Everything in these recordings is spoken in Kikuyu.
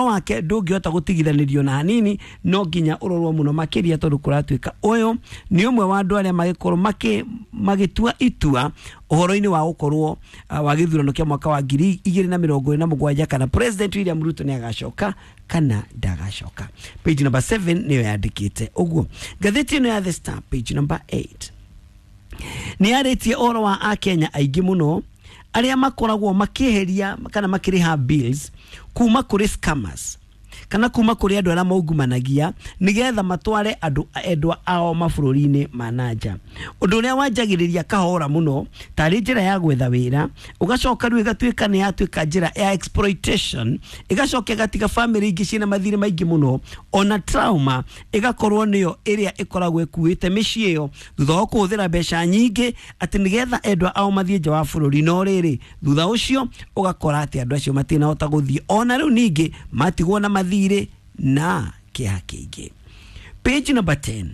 Wake ndũngĩhota gũtigithanĩrio na hanini, no nginya ũrorwo mũno makĩria, tondũ kũratuĩka ũyũ nĩ ũmwe wa andũ arĩa magĩkorwo magĩtua itua ũhoro-inĩ wa gũkorwo wa gĩthurano kĩa mwaka wa 2027, kana President William Ruto nĩ agacoka kana ndagacoka. Page number 7 nĩyo yandĩkĩte ũguo. Ngathĩti ĩno ya The Star, page number 8, nĩ yarĩtie ũhoro wa Akenya aingĩ mũno arĩa makoragwo makĩeheria kana makĩrĩha bills kuma kũrĩ scammers kana kuma kũrĩ andũ arĩa maungumanagia nĩgetha matware andũ endwa ao mabũrũri-inĩ ma nanja, ũndũ ũrĩa wanjagĩrĩria kahora mũno tarĩ njĩra ya gwetha wĩra, ũgacoka rĩu ĩgatuĩka nĩ yatuĩka njĩra ya exploitation, ĩgacoka ĩgatiga famĩlĩ ingĩ ciĩna mathirĩ maingĩ mũno, ona trauma ĩgakorwo nĩyo ĩrĩa ĩkoragwo ĩkuĩte mĩciĩ ĩyo thutha wa kũhũthĩra mbeca nyingĩ atĩ nĩgetha endwa ao mathiĩ nja wa bũrũri. No rĩrĩ, thutha ũcio ũgakora atĩ andũ acio matinahota gũthiĩ, ona rĩu ningĩ matigwo na mathirĩ na kĩeha kĩingĩ. Page number 10,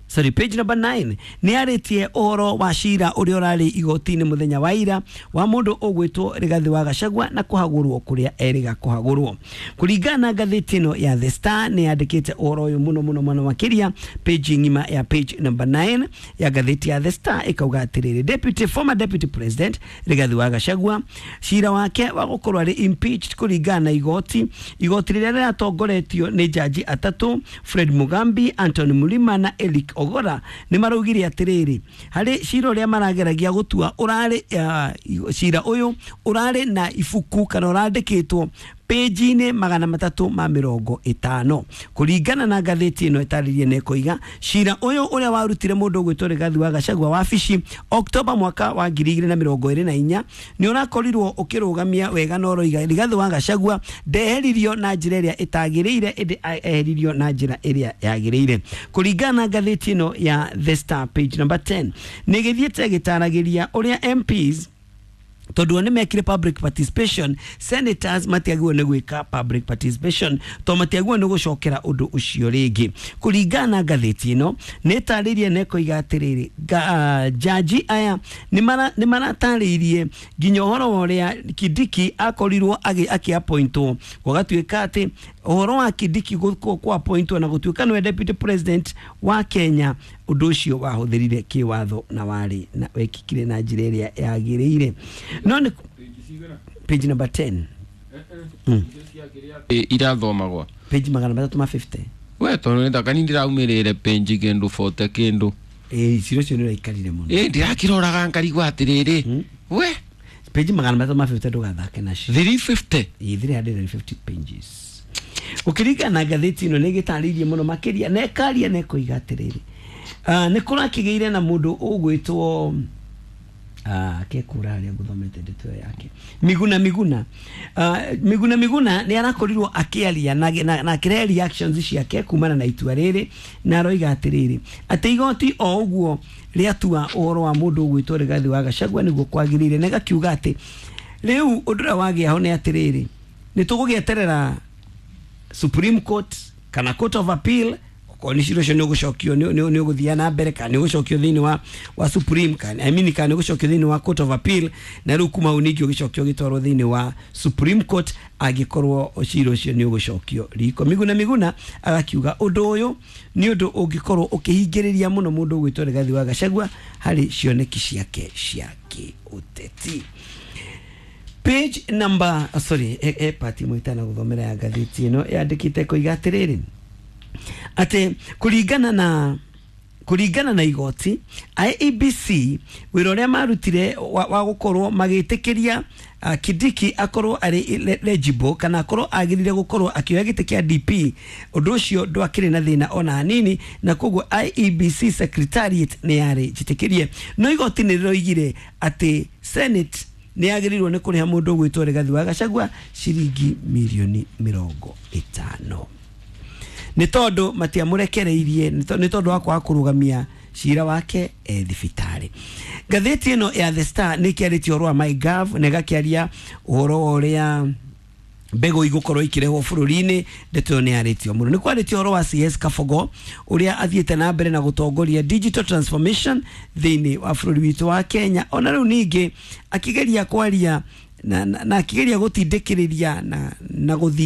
sorry, page number 9 nĩ yarĩtie ũhoro wa cira ũrĩa ũrarĩ igoti-inĩ mũthenya wa ira wa mũndũ ũgwĩtwo Rigathĩ wa Gachagua na kũhagũrwo kũrĩa erĩga kũhagũrwo. Kũringana na ngathĩti ĩno ya The Star, nĩ yandĩkĩte ũhoro ũyũ mũno mũno mũno makĩria. Page ng'ima ya page number 9 ya ngathĩti ya The Star ĩkauga atĩrĩrĩ, deputy former deputy president Rigathĩ wa Gachagua, cira wake wa gũkorwo arĩ impeached kũringana na igoti rĩrĩa rĩratongoretio nĩ jaji atatũ, Fred Mugambi, Anthony Mulima na Eric Ogora, nĩ maraugire atĩrĩrĩ, harĩ cira ũrĩa marageragia gũtua ũrarĩ cira ũyũ ũrarĩ na ibuku kana ũrandĩkĩtwo pĩnji-inĩ 350. Kũringana na ngathĩti ĩno ĩtarĩrie na ĩkoiga, cira ũyũ ũrĩa warutire mũndũ ũgwĩtwo Rigathi wa Gachagua wabici Oktoba mwaka wa 2024 nĩ ũrakorirwo ũkĩrũgamia wega, na ũroiga Rigathi wa Gachagua ndeheririo na njĩra ĩrĩa ĩtagĩrĩire, ĩndĩ eheririo na njĩra ĩrĩa yagĩrĩire. Kũringana na ngathĩti ĩno ya The Star, page number 10 nĩ ĩgĩthiĩte ĩgĩtaragĩria ũrĩa MPs, tondũ o nĩ mekire public participation, senators matiagĩrĩirwo nĩ gwĩka public participation to matiagĩrĩirwo nĩ gũcokera ũndũ ũcio rĩngĩ. Kũringana na ngathĩti ĩno nĩ ĩtarĩirie na ĩkoiga atĩrĩrĩ, jaji aya nĩ maratarĩirie nginya ũhoro wa ũrĩa Kindiki akorirwo akĩappointwo, gũgatuĩka atĩ ũhoro wa Kindiki kũappointwo na gũtuĩka nĩwe deputy president wa Kenya, ũndũ ũcio wahũthĩrire kĩwatho na warĩ na wekĩkire na njĩra ĩrĩa yagĩrĩire. No nĩ page number 10. Irathomagwo Page 350. We tondũ nĩ takani ndĩraumĩrĩre page kĩndũ 40 kĩndũ. Ĩĩ, cira ũcio nĩ ũraikarire mũno. Ĩ, ndĩrakĩroraga ngarigwo atĩrĩrĩ we. Page 350, ndũgathake nacio. 350. Ĩĩ, 350 pages. Ũkĩringana na ngathĩti ĩno nĩ ĩgĩtarĩirie mũno makĩria na ĩkaria na ĩkoiga atĩrĩrĩ, nĩ kũrakĩgĩire na mũndũ ũgwĩtwo kekura harĩa ngũthomete ndeto ĩyo yake, Miguna Miguna. Miguna Miguna nĩ arakorirwo akĩaria na akĩrehe reactions ciake kumana na itua rĩrĩ, na aroiga atĩrĩrĩ, atĩ igoti o ũguo rĩatua ũhoro wa mũndũ ũgwĩtwo Rigathi wa Gachagua nĩguo kwagĩrĩire, na ĩgakiuga atĩ rĩu ũndũ ũrĩa wagĩa ho nĩ atĩrĩrĩ, nĩ tũgũgĩeterera Supreme Court kana Court of Appeal, okorwo nĩ cira ũcio nĩ ũgũcokio, nĩ ũgũthiĩ na mbere kana nĩ ũgũcokio thĩinĩ wa Supreme, kana, I mean, kana nĩ ũgũcokio thĩinĩ wa Court of Appeal, na rĩu kuma hau ningĩ ũgĩcokio ũgĩtwarwo thĩinĩ wa Supreme Court angĩkorwo cira ũcio nĩ ũgũcokio riko. Miguna Miguna agakiuga ũndũ ũyũ nĩ ũndũ ũngĩkorwo ũkĩhingĩrĩria mũno mũndũ ũgwĩtwo Rigathi wa Gachagua harĩ cioneki ciake cia kĩũteti. Page number, oh, sorry, e part imwe itana gũthomera ya ngathĩti ĩno yandĩkĩte koiga atĩrĩrĩ, atĩ kũringana na igoti IEBC, wĩra ũrĩa marutire wa gũkorwo magĩtĩkĩria Kindiki akorwo arĩ eligible kana akorwo agĩrĩire gũkorwo akĩoya gĩtĩ kĩa DP, ũndũ ũcio ndwakĩrĩ na thĩna ona hanini, na koguo IEBC secretariat nĩ yarĩ njĩtĩkĩrie. No igoti nĩ rĩroigire atĩ Senate nĩ yagĩrĩirwo nĩ kũrĩha mũndũ ũgwĩtwo Rigathi wa Gachagua ciringi mirioni 50 nĩ tondũ matiamũrekereirie nĩ tondũ wa kwaga kũrũgamia cira wake e thibitarĩ. Ngathĩti ĩno ya The Star nĩ ĩkĩarĩtie ũhoro wa MyGov na ĩgakĩaria ũhoro wa ũrĩa mbegũ igũkorwo ikĩrehwo bũrũri-inĩ. Ndeto ĩyo nĩ yarĩtio mũno. Nĩ kwarĩtio ũhoro wa CS Kabogo ũrĩa athiĩte na mbere na gũtongoria digital transformation thĩinĩ wa bũrũri witũ wa Kenya, ona rĩu ningĩ akĩgeria kwaria. na akigeria gutindikiriria na guthinga.